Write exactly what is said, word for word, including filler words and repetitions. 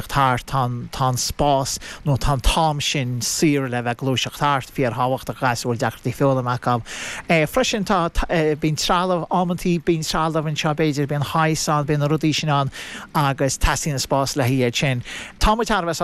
Thart tá tá spás nó tá t-am sin saor le bheith gluaiseacht thart fíorthábhachtach as bhfuil deacrachtaí foghlama acu. E, freisin tá e, bíonn trealamh amantaí bíonn trealamh anseo b'fhéidir bíonn háis an bíonn na rudaí sin ann agus teastaíonn spás le hiad sin. Tá thar